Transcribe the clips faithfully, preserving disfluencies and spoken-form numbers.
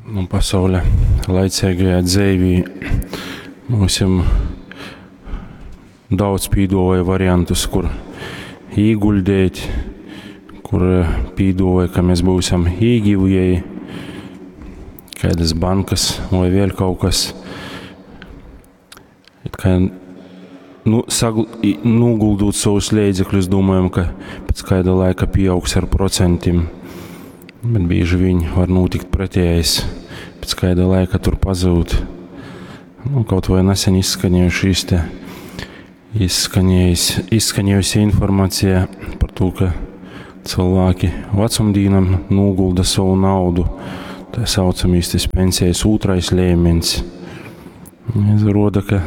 Nu, pasaule laiceigajā dzeivī myusim daudz pīduovoja variantus, kur īguļdeit, kur pīduovoja, ka mēs būsim īgivieji, kādas bankas vai vēl kaut kas. It kā, nu, sagl, nūguldūt savus leidzekļus, domājam, ka pēc kāda laika pieaugs ar procentiem. Bet bieži vien var notikt pretējais. Pēc kāda laika tur pazūd. Nu, kaut vai nesen izskanējušīs te, izskanējis, izskanējusi informācija par to, ka cilvēki vecumdīnam nogulda savu naudu. Tā saucamīs tas pensijas otrais līmenis. Izroda, ka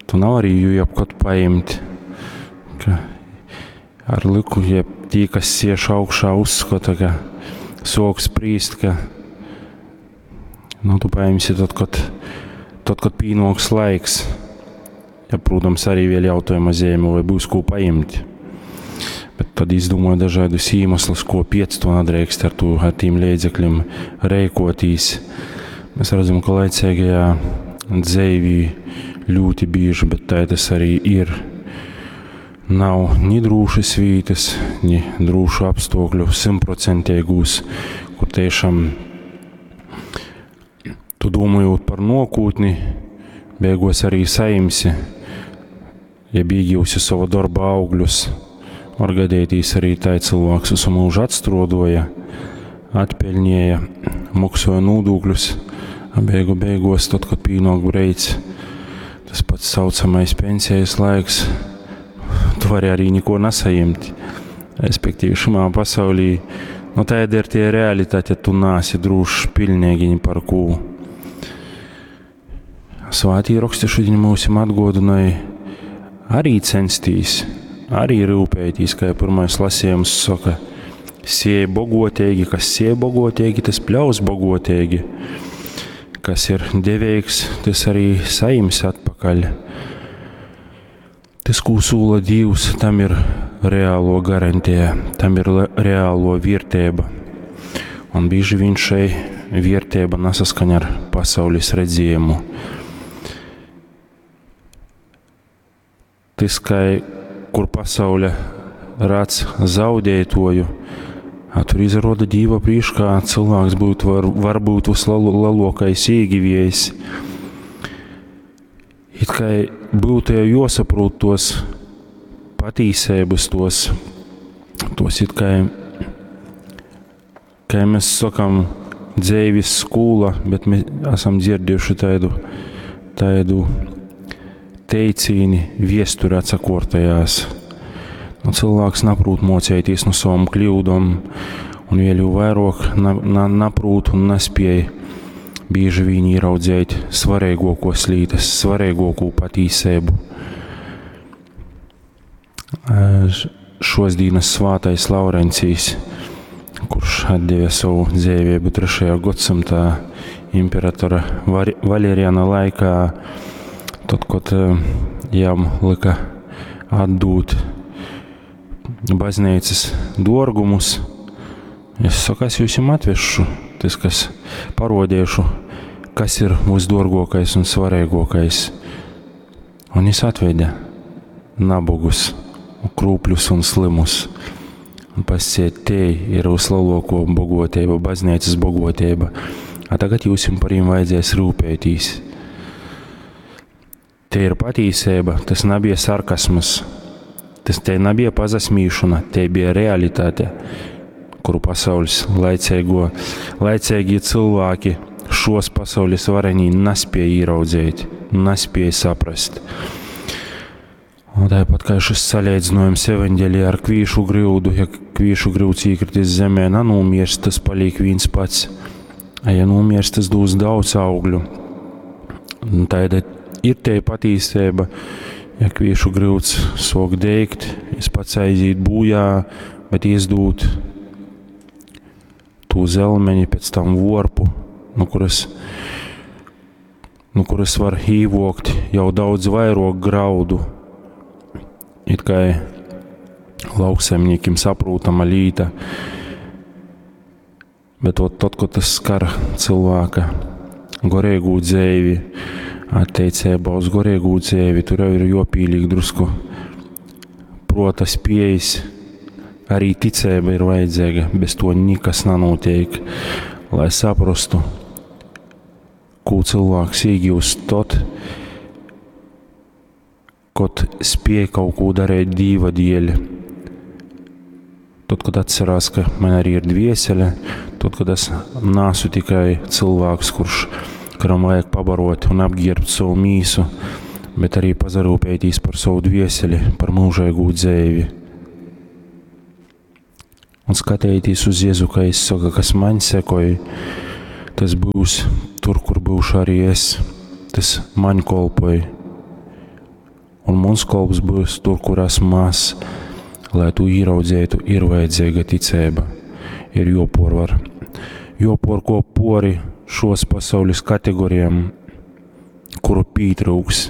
tu nav arī jū jebkad paimt, ka ar liku, jeb tī, kas siež augšā, uzskata, ka sok sprīst, ka nu, tu paimsi tad, kad, tad, kad pīnoks laiks. Ja, protams, arī vēl jautājuma zīme, vai būs ko paimt. Bet tad izdomāju dažādus iemeslus, ko piec to nedrīkst ar, to, ar tīm līdzekļiem rēkotīs. Mēs redzam, ka laicīgajā dzīvī ļoti bieži, bet tā tas arī ir. Nav ni drūšas vītas, ni drūšu apstākļu simtprocentīgūs, kur tiešām tu domājot par nokūtni, beigos arī saimsi, ja iegūsi savu darba augļus. Var gadīties arī tā cilvēks visu mūžu atstrodoja, atpeļņēja, maksāja nodokļus, a beigu beigos, tad, kad pienāk breids, tas pats saucamais pensijas laiks, tu vari arī neko nesaņemt. Respektīvi, šimā pasaulī, nu tāda ir tie realitāte, tu nāsi drūšs pilnīgi ni par ko. Svātī raksti šodien mūsim atgodināja arī censtīs, arī rūpētīs, kā pirmais lasījums saka, sēj bogotīgi, kas sēj bogotīgi, tas pļaus bogotīgi. Kas ir devīgs, tas arī saims atpakaļ. Tas, ko sūla Dievs, tam ir reālo garantija, tam ir reālo vērtība. Un bieži vien šai vērtība nesaskaņ ar pasaules redzējumu. Tas, kā, kur pasaule redz zaudētoju, a tur izroda Dieva priekšā cilvēks būt var, var būt vislielākais ieguviejs. It kā būtu jau jāsaprot tos patīsības, tos, tos it kā, kā mēs sakam, dzīves skola, bet mēs esam dzirdējuši tādu, tādu teicīni viesture atsakortajās. Nu, cilvēks naprūt mocēties no savam kļūdom, un vēl jau vairāk na, na, naprūt un nespēj bieži vien ieraudzēt svarīgākos lietas, svarīgāko patīsību. Šos dienas svātais Laurencijs, kurš atdeva savu dzīvību trešajā gadsimtā imperatora Valeriana laikā, tad, kad jām lika atdūt baznīcas dārgumus, es saku, es jums atvešu, tas, kas parodīšu, kas ir visdārgākais un svarīgākais. Un es atveda nabagus, krūpļus un slimus. Un pasciet, te ir vislielāko bogotība, baznīcas bogotība. A tagad jūs par viņiem vajadzēs rūpētīs. Te ir patīsība, tas nebija sarkasms, tas te nebija pazasmīšana, te bija realitāte, kuru pasaules laicīgo, laicīgie cilvēki šos pasaules varenī nespēja ieraudzīt, nespēja saprast. Un tāpat kā šis salīdzinājums evaņģēlijā ar kvīšu grūdu, ja kvīšu grūds iekritīs zemē, nenomirs, tas paliek viens pats. A ja nomirs, tas dūs daudz augļu. Un tāda ir te patīsība, ja kvīšu grūds sok degt, es pats aiziet bojā, bet izdūt tū zelmeņi, pēc tam vorpu, no kuras, no kuras var īvokt jau daudz vairāk graudu. It kā lauksaimniekiem saprotama līta. Bet ot, tod, kod tas skar cilvēka goreigū dzeivi, atteicībā uz goreigū dzeivi, tur jau ir jopīlīk drusku prota spējas, arī ticība ir vajadzīga, bez to nekas nenotiek, lai saprastu, ko cilvēks iegūst tad, kad spēj kaut ko darīt Dieva dēļ. Tad, kad atcerās, ka man arī ir dviesele, tad, kad es neesmu tikai cilvēks, kurš, kuram vajag pabarot un apģērbt savu mīsu, bet arī pazarūpētīs par savu dvieseli, par mūžīgu dzēvi. Un skatēties uz Jēzu, ka es saku, kas man sekoja, tas būs tur, kur būšu arī es, tas man kolpoja. Un mans kolps būs tur, kur esmu es, lai tu ieraudzētu, ir vajadzīga ticība, ir joporvar, joporko pori šos pasaules kategorijām, kuru pītrūks,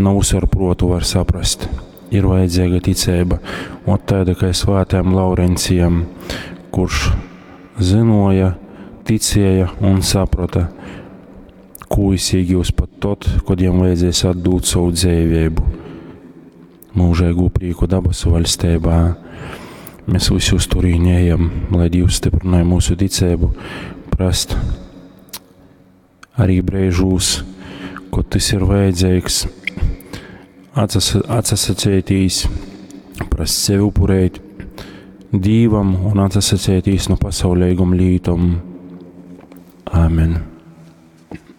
nav ar protu var saprast. Ir vajadzīga ticība, un tāda kā svētajam Laurencijam, kurš zinoja, ticēja un saprata, ko es iegūs pat tad, kad jiem vajadzēs atdūt savu dzīvību. Mūžīgu prieku dabasu valstībā. Mēs visi uz turieni ejam, lai Dievs stiprināja mūsu ticību, prast arī brīžos, kad tas ir vajadzīgs, atsas, atsasacētīs, prast sevi upurēt Dievam un atsasacētīs no pasaulīgam lītam. Āmen.